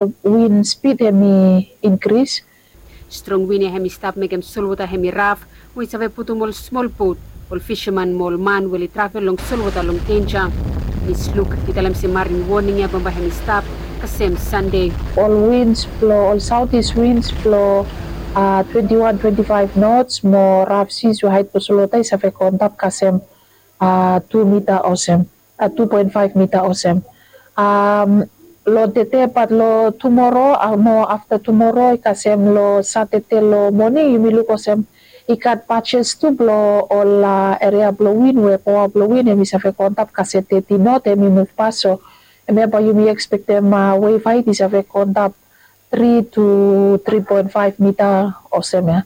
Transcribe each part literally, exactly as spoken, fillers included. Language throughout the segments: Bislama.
Win spid hemi inkris. Strong win ya hemi stap mekem solwota hemi raf, we i save putum ol smol bot, ol fisaman mo ol man we oli travel long solwota long denja. Miss Luke i talem se marin woning ya bambae hemi stap kasem Sande. Ol wins blong ol saotis wins blong twenti wan twenti faef nots mo raf sis we haet blong solwota i save go antap kasem tu mita olsem, tu poen faef mita olsem. Long tede bat long tumoro mo afta tumoro i kasem long Satade long moning yumi luk olsem i gat bajes tu blong ol eria blong win we paoa blong win hemi save go antap kasem teti not hemi muv pas. So hemia bae yumi ekspektem wef haet i save go antap tri tu tri poen faef mita olsem ya.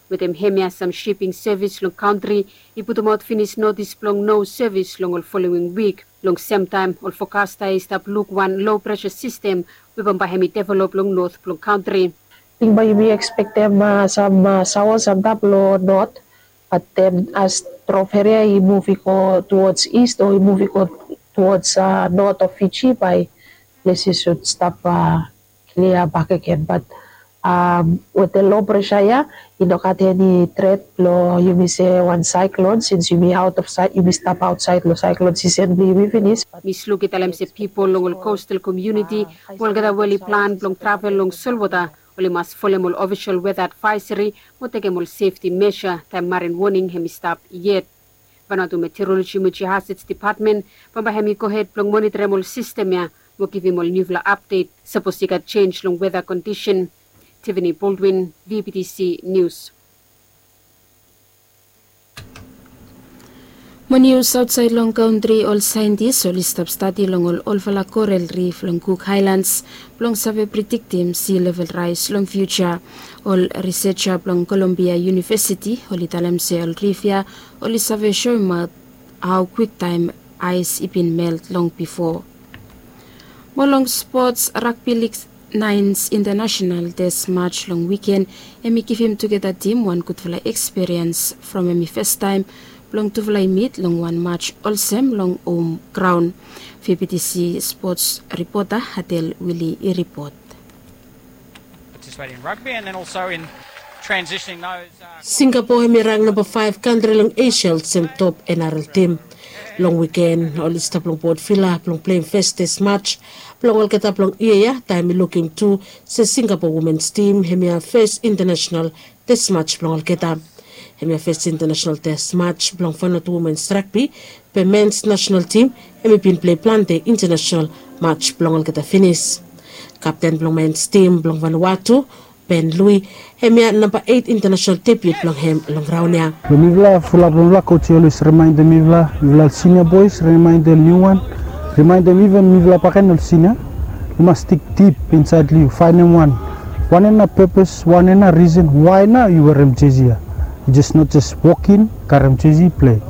Wetem hemia sam shiping sevis long kantri i putumaot finis notis blong no sevis long ol folowing wik. Long semtaem ol fokasta ya i stap luk wan lo presa sistem we bambae hemi develop long not blong kantri. Ting bae yumi ekspektem sam saos antap long not, bat den as trof eria i muv i go tuwods ist o i muv i go tuwods not of Fiji bae plesi sud stap klia bakegen. Bat wetem lo presa ya i no gat eni tret blong yumi se wan saeklon sins yumi aot of saed, yumi stap aotsaed long saeklon sisen blong yumi finis. Miss Luke i talem se pipol long ol kostal komuniti we olgeta we oli plan blong travel long solwota oli mas folem ol ofisol weta advaesari mo tekem ol sefti mesa taem marin woning hemi stap yet. Vanuatu Meteoroloji mo Geohazards Depatmen bambae hemi gohed blong moniterem ol sistem ya mo givim ol niufala apdet sapos i gat jenj long weta kondisen. Tiffany Baldwin, V B T C Nius. Mo nius aotsaed long kantri, ol saentis oli stap stadi long ol olfala korel rif long Cook Haelans blong save prediktim si level raes long fiuja. Ol riseja blong Kolumbia Yunivesiti oli talem se ol rif ya oli save soemaot hao kwiktaem aes i bin melt long bifo. Mo long spots, ragbi lig naens intanasenal tes maj long wiken hemi givim tugeta tim wan gudfala ekspiriens from hemi fastaem blong tufala i mit long wan maj olsem long hom graon. V B T C spots ripota Adel Wili i ripot. Participating in rugby and then also in transitioning those, uh, Singapo hemi rang namba faef kantri long Esia olsem top N R L tim. Long wiken oli stap long Port Vila blong pleim fes tes maj blong olgeta blong yia ya, taem i lukim tu se Singapo womens tim hemi fes intanasenal tes maj blong olgeta. Hemia fes intanasenal tes maj blong Vanuatu womens ragbi, be mens nasenal tim hemi bin plei plante intanasenal maj blong olgeta finis. Kapten blong mens tim blong Vanuatu, Ben Lui, hemia namba eit intanasenal debiu blong hem long raon ya. Long mifala fulap long mifala, coach i olwes rimaendem mifala, mifala ol sinia boes, rimaendem niuwan, rimaendem iven mifala bakegen ol sinia. Yu mas dig dip insaed long yu, faenem wan. Wanem nao pepes, wanem nao risen, wae nao yu werem jesi ya? Yu jes no jes wok in, karem jesi, plei.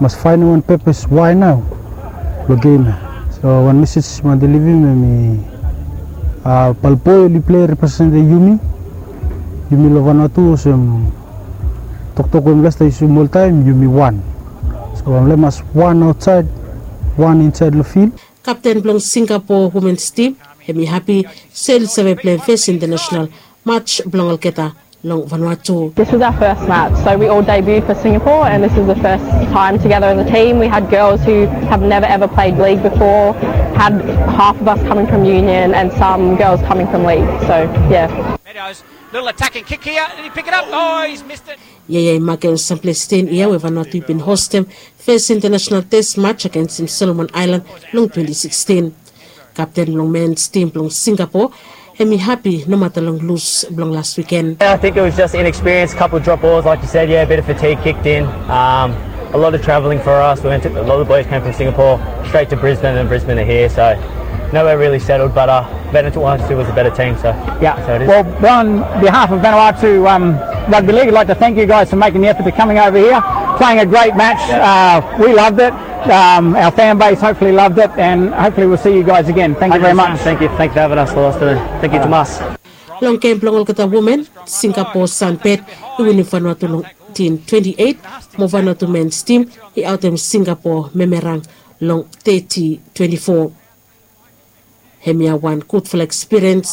Mas faenem wan pepes wae nao long gem ya. So wan mesej mi wantem livim hemi, a, balboe oli plei representem yumi. Yumi long Vanuatu olsem toktok we mifala stap yusum oltaem, yumi wan. So mifala mas wan aotsaed, wan insaed long fil. Kapten blong Singapo womens tim, hemi hapi se oli save pleim fes intanasenal maj blong olgeta long Vanuatu. This was our first match, so we all debuted for Singapore, and this is the first time together as a team. We had girls who have never ever played league before, had half of us coming from Union and some girls coming from league. So, yeah. Meadows, little attacking kick here. Did he pick it up? Oh, he's missed it. Ia, ia i makem sam ples ten yia we Vanuatu i bin hostem fes intanasenal tes maj agensem Solomon Aelan long twenti sikstin. Kapten blong mens tim blong Singapo, hemi hapi nomata long lus blong las wiken. Yeah, I think it was just inexperience, couple drop balls, like you said, yeah, a bit of fatigue kicked in. Um, a lot of travelling for us. We went to, a lot of the boys came from Singapore, straight to Brisbane, and Brisbane are here, so nowhere really settled, but, uh, Vanuatu is a better team, so. Yeah. So it is. Well, on behalf of Vanuatu, um, Rugby League, I'd like to thank you guys for making the effort to coming over here, playing a great match. Yeah. Uh, we loved it. Um, our fan base hopefully loved it, and hopefully we'll see you guys again. Thank you very much. Thank you. Thank you for having us, Lost. Thank you, Tomas. Long gem blong olgeta women, Singapo Sunbird i winim Vanuatu long tin twenti eit, mo Vanuatu mens tim i aotem Singapo Memerang long teti twenti fo. Hemia wan gudfala ekspiriens